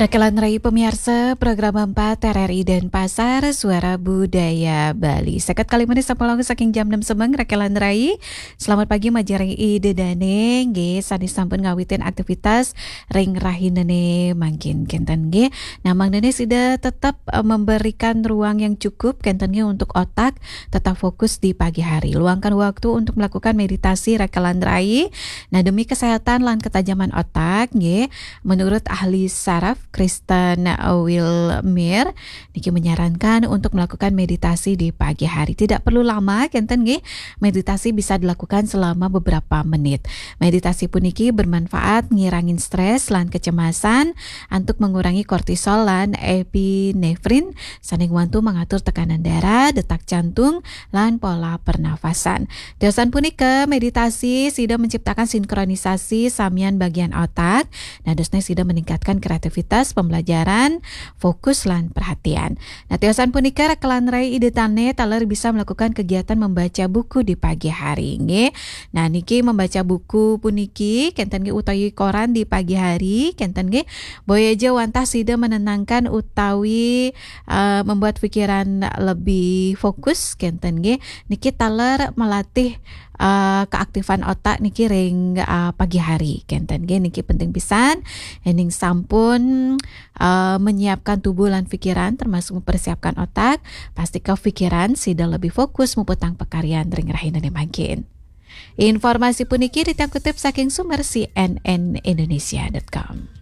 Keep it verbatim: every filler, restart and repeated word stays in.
Rakelan Rai pemiarsa, program empat R R I Denpasar, Suara Budaya Bali. Seket kali menit sampun langkung saking jam enam semeng, Rakelan Rai. Selamat pagi, majeng ring Ida dane, nggih, sane sampun ngawitin aktivitas ring rahinane mangkin, kenten nggih. Nah, mangdane sida tetep, eh, memberikan ruang yang cukup, kenten nggih, untuk otak tetap fokus di pagi hari. Luangkan waktu untuk melakukan meditasi, Rakelan Rai. Nah, demi kesehatan lan ketajaman otak, nggih, menurut ahli saraf Kristen Wilmir, niki menyarankan untuk melakukan meditasi di pagi hari. Tidak perlu lama, kenten nggih. Meditasi bisa dilakukan selama beberapa menit. Meditasi puniki bermanfaat ngirangin stres lan kecemasan, antuk mengurangi kortisol lan epinefrin, sane ngwantu mangatur tekanan darah, detak jantung, lan pola pernafasan. Tiosan punika, meditasi sida menciptakan sinkronisasi samian bagian otak. Nah, dosne sida meningkatkan kreativitas, pembelajaran, fokus, lan perhatian. Nah, tiosan punika, Rakelan Rai, Ida dane taler bisa melakukan kegiatan membaca buku di pagi hari, nggih. Nah, niki membaca buku puniki, kenten nggih, utawi koran di pagi hari, kenten nggih, boya aja wantah sida menenangkan utawi, eh, membuat pikiran lebih fokus, kenten nggih. Niki taler melatih, eh, keaktifan otak niki ring, eh, pagi hari, kenten nggih. Niki penting pisan, yening sampun, eh, menyiapkan tubuh lan pikiran, termasuk mempersiapkan otak, pastika pikiran sida lebih fokus muputang pakaryan ring rahinane mangkin. Informasi puniki titiang kutip saking sumber C N N Indonesia dot com.